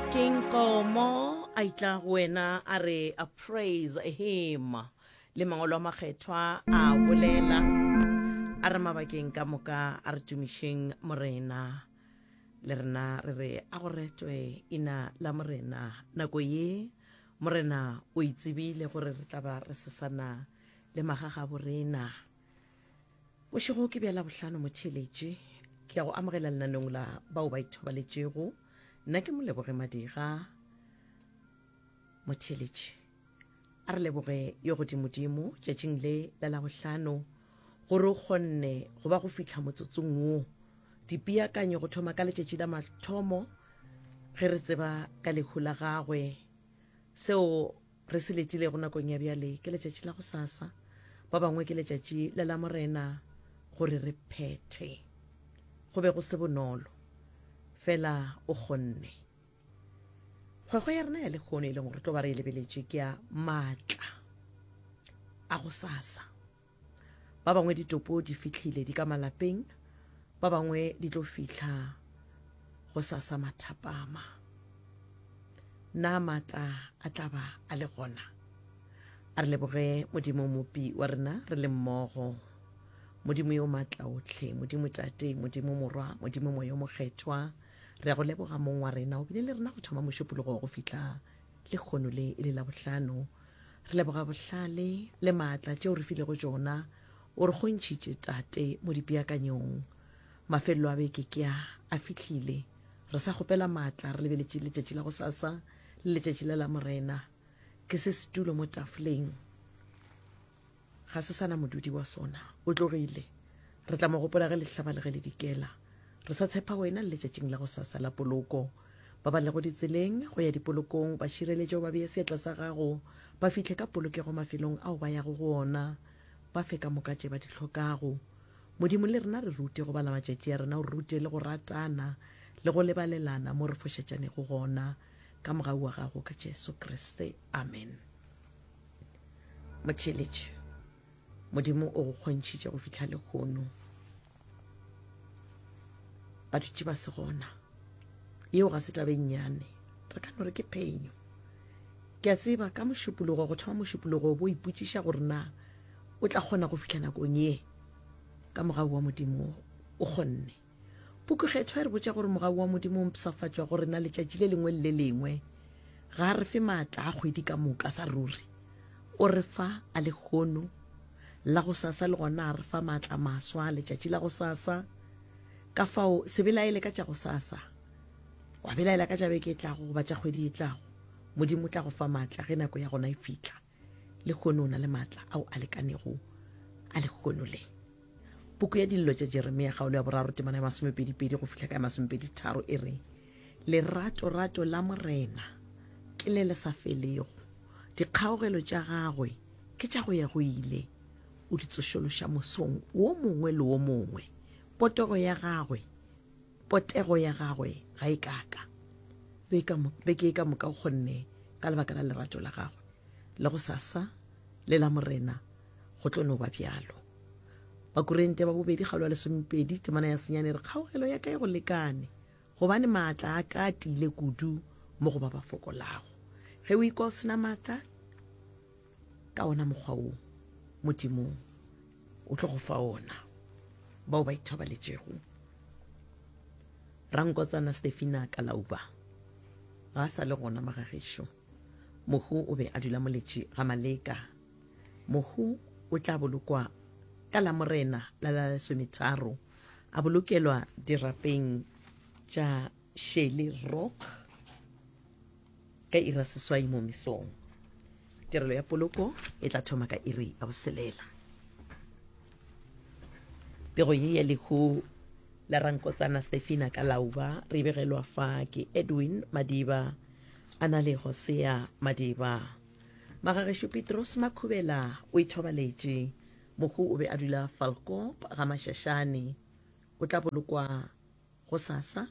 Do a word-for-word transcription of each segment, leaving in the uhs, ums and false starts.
King Komo a itla go wena a re a praise him le mangwalo a makgethwa a bolela a re mabakeng ka moka a re tumišeng morena le rena re re a go retwe ina la morena nako ye morena o itsebile gore re tla ba re sesana le magagabo rena bošego ke bja labohlano motheeletši ke ya go amogela lenaneng la bao ba ithobaletšego nna ke moleboge madira motheeletši a re leboge yo godimodimo tšatšing le la labohlano gore o kgonne go ba go fihla motsotsong wo dipeakanyo go thoma ka letšatši la mathomo ge re tseba ka lehu la gagwe seo re se letilego nakong ya bjale ke letšatši la go sasa ba bangwe ke letšatši la la morena gore re phethe go be go se bonolo fela o kgonne kgwekgwe ya rena ya lekgono e leng gore tlo ba re e lebeletše ke ya maatla a go sasa ba bangwe ditopo di fihlile di ka malapeng ba bangwe di tlo fihla go sasa mathapama na maatla a tla ba a le gona a re leboge modimo mopi wa rena re le mmogo modimo yo maatla otlhe modimo tate modimo morwa modimo moya o mokgethwa re ya go leboga mong wa rena o bile le rena go thoma mošupologo go fihla lekgono le e le la bohlano re leboga bohlale le maatla tšeo re filego tšona o re kgontšhitše tate mo dipeakanyong mafelelo a beke ke a a fihlile re sa kgopela maatla re lebeletše letšatši la go sasa le letšatši la la morena ke se setulo mo tafoleng ga se sana modudi wa sona o tlogile re tla mo gopola ge le hlaba le ge le dikela re sa tshepa wena le letšatšing la go sasa la poloko ba ba lego ditseleng go ya dipolokong ba šireletše o ba beye seatla sa gago ba fihle ka polokego mafelong ao ba yago go ona ba fe ka moka tše ba di hlokago modimo le rena re rute go bala matšatši a rena o rute le go ratana le go lebalelana mo re fošetšanego gona ka mogau wa gago ka jesu kriste amen motheeletši modimo o go kgontšhitše go fihla lekgono ba dutše ba se gona yeo ga se tabe nnyane re ka no re ke phenyo ke a tseba ka mošupologo go thoma mošupologo bo ipotšiša gore na o tla kgona go fihla nakong ye ka mogau wa modimo o kgonne pukukgethwa e re botša gore mogau wa modimo o mpshafatšwa go rena letšatši le lengwe le le lengwe ga a re fe maatla a kgwedi ka moka sa ruri o re fa a lekgono la go sasa le gona a re fa maatla maswa letšatši la go sasa ka fao se belaele ka tša go sasa wa belaela ka tša beke e tlago goba tša kgwedi e tlago modimo o tla go fa maatla ge nako ya gona e fihla lekgono o na le maatla ao a lekanego a lekgono le puku ya dillo tša jeremia kgaolo ya boraro temana ya masomepedipedi go fihla ka ya masomepedi tharo e re leratorato la morena ke le le sa felego dikgaogelo tša gagwe ke tša go ya go ile o di tsošološa mosong wo mongwe le wo mongwe potego ya gagwe potego ya gagwe ga e kaka beke e ka moka o kgonne ka lebaka la lerato la gagwe le go sasa le la morena go tlo no ba bjalo bakorente ba bobedi kgaolo ya lesomepedi temana ya senyane re kgaogelo ya ka e go lekane gobane maatla a ka a tiile kudu mo go ba ba fokolago ge o ikwa o sena maatla ka ona mokgwa wo modimo o tlo go fa ona bao ba ithobaletšego rankotsana stefina kalauba ga a sa le gona magagešo mohu o be a dula moletši ga maleka mohu o tla bolokwa ka la morena la la lesometharo a bolokelwa dirapeng tša Shelly Rock ka ira seswai mo mesong tirelo ya poloko e tla thoma ka iri ya boselela pego ye ya lehu la rankotsana stefina ka lauba re begelwa fa ke edwin madiba a na le hosea madiba magagešo petros makhubela o ithobaletše mohu o be a dula falkop ga mašašane o tla bolokwa go sasa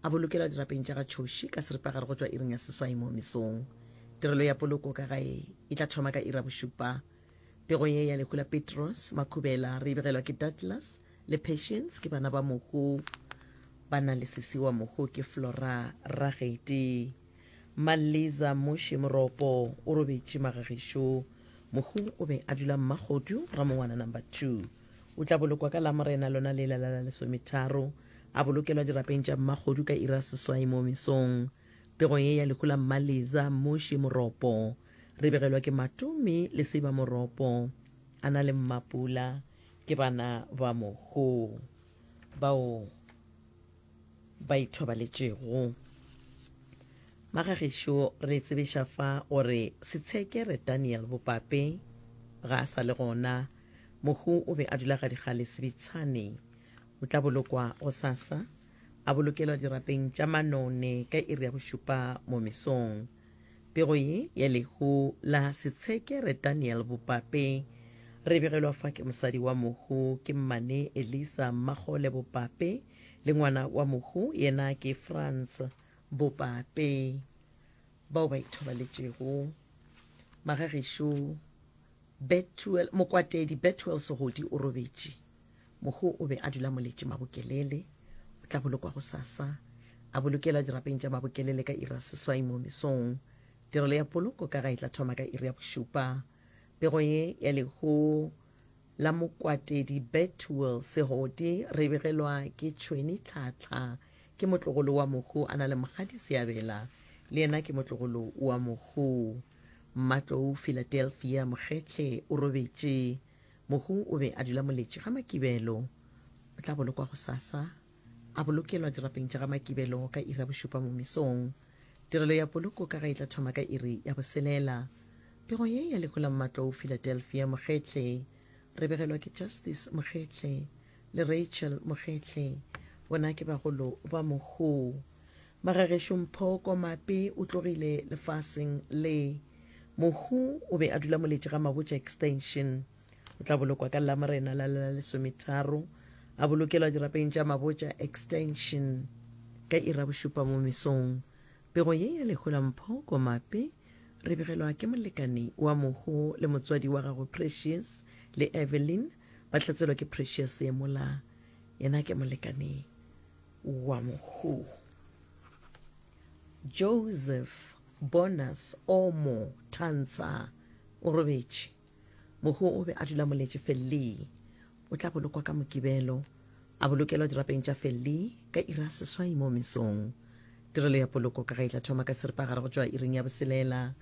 a bolokelwa dirapeng tša ga tšhoši ka seripagare go tšwa iring ya seswai mo mesong tirelo ya poloko ka gae e tla thoma ka ira bošupa pego ye ya lehu la petros makhubela re e begelwa ke douglas le patience ke bana ba mohu ba na le sesi wa mohu ke flora ragete Maliza Moshe Moropo o robetše magagešo. Mohu o be a dula Mmakgodu, Ramongwana Number two. O tla bolokwa ka Lamorena lona lela la la lesometharo, a bolokelwa dirapeng tša Mmakgodu ka iri ya seswai mo mesong. Pego ye ya lehu la Mmaliza Moshe Moropo re begelwa ke Matome le Seiba Moropo a na le Mmapula ke bana ba mohu bao ba ithobaletšego. Magagešo re tsebiša fa gore Setshekere Daniel Bopape ga a sa le gona. Mohu o be a dula Gadigale Sebitshane. O tla bolokwa gosasa, a bolokelwa dirapeng tša Manone ka iri ya bošupa mo mesong. Pego ye ya lehu la Setshekere Daniel Bopape re begelwa fa ke mosadi wa mohu ke Mmane Elisa Mmagole Bopape le ngwana wa mohu yena ke Frans Bopape bao ba ithobaletšego. Magagešo Bethuel Mokwatedi Bethuel Segodi o robetše. Mohu o be a dula Moletše Mabokelele. O tla bolokwa gosasa, a bolokelwa dirapeng tša Mabokelele ka iri ya seswai mo mesong. Tirelo ya poloko ka ga e tla thoma ka iri ya bošupa. Pego ye ya lehu la Mokwatedi Bethuel Segodi re begelwa ke Tšhweni Tlhatlha, ke motlogolo wa mohu a na le Mokgadi Seabela, le yena ke motlogolo wa mohu. Mmatlou Philadelphia Mokgetle o robetše. Mohu o be a dula Moletše ga Makibelo. O tla bolokwa gosasa, a bolokelwa dirapeng tša ga Makibelo ka iri ya bošupa mo mesong. Tirelo ya poloko ka ga e tla thoma ka iri ya boselela. Pego ye ya lehu la Mmatlou Philadelphia Mokgetle re begelwa ke Justice Mokgetle le Rachel Mokgetle, bona ke bagolo ba mohu. Magagešo Mpho Komape o tlogile lefaseng le. Mohu o be a dula Moletše ga Mabotja Extension. O tla bolokwa ka Lamorena la la lesometharo, a bolokelwa dirapeng tša Mabotja Extension ka iri ya bošupa mo mesong. Pego ye ya lehu la Mpho Komape re begelwa ke molekane wa mohu le motswadi wa gagwe Precious le Evelyn, ba hlatselwa ke Precious Yemola, yena ke molekane wa mohu. Joseph Bonus Omo Tansa o robetše. Mohu o be a dula Moletše Felli. O tla bolokwa ka Mokibelo, a bolokelwa dirapeng tša Felli ka iri ya seswai mo mesong. Tirelo ya poloko ka ga e tla thoma ka seripagare go tšwa iring ya boselela.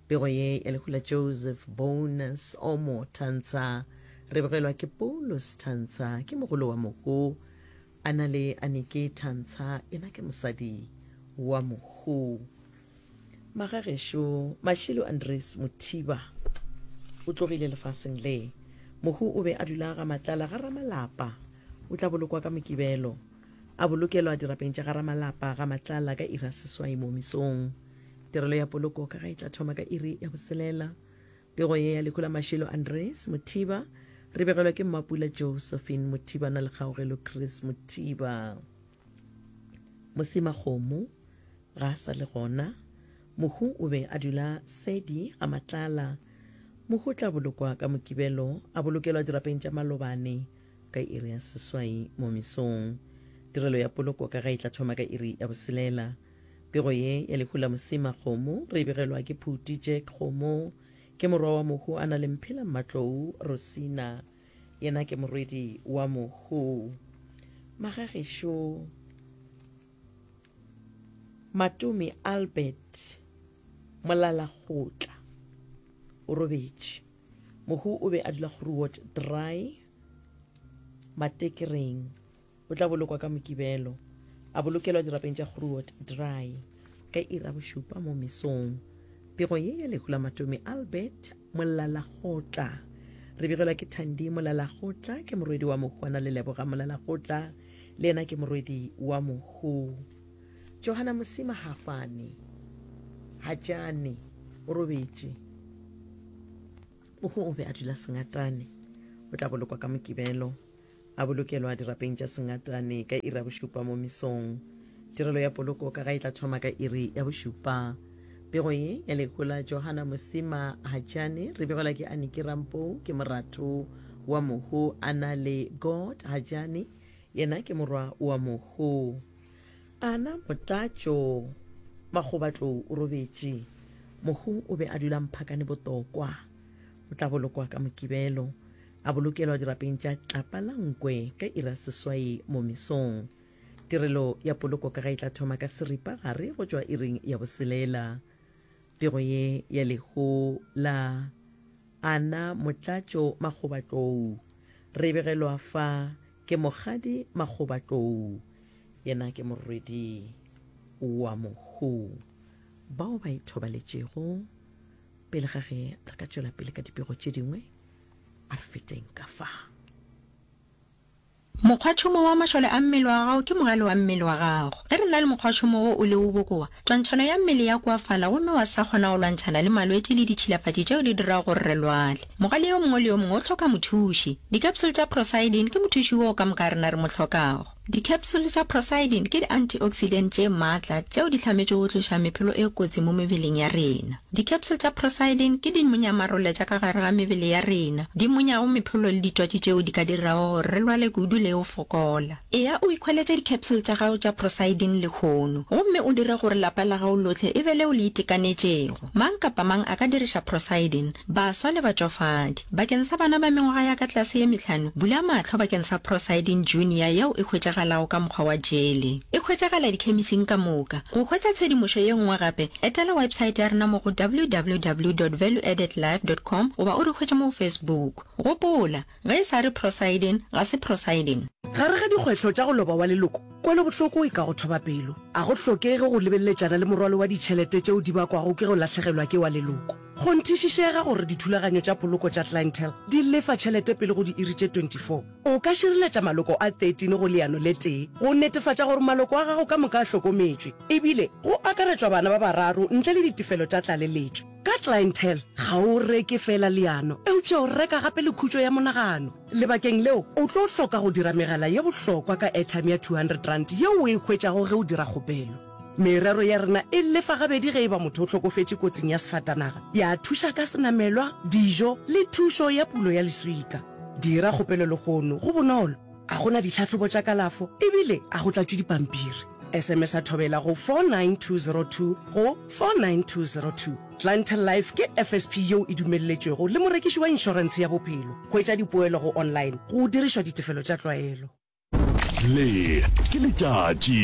Pego ye ya lehu la Joseph Bonus Omo Tansa re begelwa ke Paulus Tansa, ke mogolo wa mohu, a na le Anike Tansa, yena ke mosadi wa mohu. Magagešo Mashilo Andres Mothiba o tlogile lefaseng le. Mohu o be a dula ga Matlala ga Ramalapa. O tla bolokwa ka Mokibelo, a bolokelwa dirapeng tša ga Ramalapa ga Matlala ka iri ya seswai mo mesong. Tirelo ya poloko ka ga e tla thoma ka iri ya boselela. Pego ye ya lehu la Mashilo Andres Mothiba re begelwa ke Mmapula Josephine Mothiba na le Kgaogelo Chris Mothiba. Mosima Kgomo ga a sa le gona. Mohu o be a dula Sedi ga Matlala. Mohu o tla bolokwa ka Mokibelo, a bolokelwa dirapeng tša Malobane ka iri ya seswai mo mesong. Tirelo ya poloko ka ga e tla thoma ka iri ya boselela. Pego ye ya lehu la Mosima Kgomo re begelwa ke Phuti Jack Kgomo, ke morwa wa mohu a na le Mphela Mmatlou Rosina, yena ke morwedi wa mohu. Magagešo Matome Albert Molalakgotla o robetše. Mohu o be a dula Groot Dry Matekereng. O tla bolokwa ka Mokibelo, a bolokelwa dirapeng tša Groot Dry ka iri ya bošupa mo mesong. Pego ye ya lehu la Matome Albert Molalakgotla re begelwa ke Thandi Molalakgotla, ke morwedi wa mohu, a na le Leboga Molalakgotla, le yena ke morwedi wa mohu. Johanna Mosima Hafane Hajane o robetše. Mohu o be a dula Sengatane. O tla bolokwa ka Mokibelo, a bolokelwa dirapeng tša Sengatane ka iri ya bošupa mo mesong. Tirelo ya poloko ka ga e tla thoma ka iri ya bošupa. Pego ye ya lehu la Johanna Mosima Hajane re begelwa ke Aniki Rampou, ke moratho wa mohu, a na le God Hajane, yena ke morwa wa mohu. Ana Motlatšo Makgobatlou o robetše. Mohu o be a dula Mphakane Botokwa. O tla bolokwa ka Mokibelo, a bolokelwa dirapeng tša Tlapa la Nkwe ka iri ya seswai mo mesong. Tirelo ya poloko ka ga e tla thoma ka seripa gare go tšwa iring ya boselela. Pego ye ya lehu la Anna Motlatšo Makgobatlou re e begelwa fa ke Mokgadi Makgobatlou, yena ke morwedi wa mohu. Bao ba ithobaletšego pele ga ge re ka tšwela pele ka dipego tše dingwe, a re feteng ka fa. Mokgwatšhomo wa mašole a mmele wa gago ke mogale wa mmele wa gago. Ge re na le mokgwatšhomo wo o lego bokoa, twantšhano ya mmele ya koafala gomme wa sa kgona go lwantšhana le malwetši le ditšhilafatši tšeo di dirago gore re lwale. Mogale yo mongwe le yo mongwe o hloka mothuši. Dikapsule tša Procyldin ke mothuši woo ka moka rena re mo hlokago. Dikapsule tša Procyldin ke di-antioxidant tše matla tšeo di hlametšwego go tloša mephelo e kotsi mo mebeleng ya rena. Dikapsule tša Procyldin ke dimonyamarole tša ka gare ga mebele ya rena, di monyago mephelo le ditwatši tšeo di ka dirago gore re lwale kudu le go fokola. Eya o ikhweletše dikapsule tša gago tša Procyldin lehono gomme o dire gore lapa la gago lohle e be leo le itekanetšego. Mang kapa mang a ka diriša Procyldin, baswa le batšofadi. Bakeng sa bana ba mengwaga ya ka tlase ye mehlano, bula mahlo bakeng sa Procyldin Junior yeo e hwetšagalago ka mokgwa wa jele. E hwetšagala dikhemising ka moka. Go hwetša tshedimošo ye nngwe gape, etela websaete ya rena mo go www dot valueaddedlife dot com goba o re hwetše mo go Facebook. Gopola, ge e sa re Procyldin, ga se Procyldin. Gare ga dikgwehlo tša go loba wa leloko, kwelobohloko e ka go thoba pelo. A go hlokege go lebeleletšana le morwalo wa ditšhelete tšeo di bakwago ke go lahlegelwa ke wa leloko. Kgonthišišega gore dithulaganyo tša poloko tša Clientele di lefa tšhelete pele go diiri tše twenty four. O ka šireletša maloko a thirteen go leano le tee go netefatša gore maloko a gago ka moka a hlokometšwe, ebile go akaretšwa bana ba bararo ntle le ditefelo tša tlaleletšo. Ka Clientele, ga o reke feela leano, eupša o reka gape le khutšo ya monagano. Lebakeng leo, o tlo hloka go dira megala ye bohlokwa ka airtime ya two hundred rand yeo o e hwetšago ge o dira kgopelo. Merero ya rena e lefa gabedi ge e ba motho o hlokofetše kotsing ya sefatanaga, ya thuša ka senamelwa, dijo le thušo ya pulo ya leswika. Dira kgopelo lehono, go bonolo, a go na ditlhahlobo tša kalafo ebile a go tlatšwe dipampiri. S M S a thobela go four nine two zero two go four nine two zero two. Clientele Life ke F S P yeo e dumelletšwego le morekiši wa inšorentshe ya bophelo. Hwetša dipoelo go online go dirišwa ditefelo tša tlwaelo. Le ke letšatši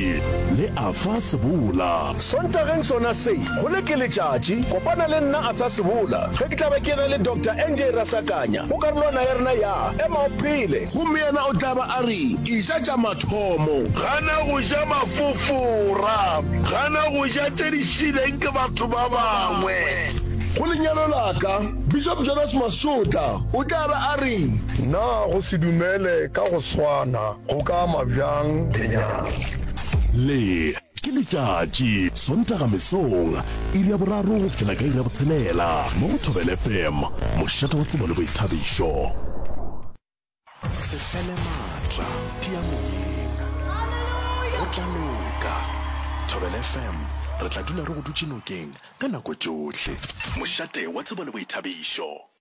le Arthur Sebola. Sontageng sona se, go le ke letšatši, kopana le nna Arthur Sebola ge ke tla be ke na le Doctor N J Rasakanya go karolwana ya rena ya Ema o Phele. Gomme yena o tla ba a re, Eja tša mathomo. Gana go ja mafofora. Gana go ja tše di šileng ke batho ba bangwe. Go lenyalo la ka, Bishop Jonas Masotla o tla ba a re. Na go se dumele ka go swana go ka ama bjang lenyalo? Le ke letšatši, Sontaga mesong, iri ya boraro go fihlela ka iri ya botshelela, mo go Thobela F M, mošate wa tsebo le boithabišo. Se fele maatla, tia moyeng. Go tla loka. Thobela F M, re tla dula re go dutše nokeng ka nako tšohle. Mošate wa tsebo le boithabišo.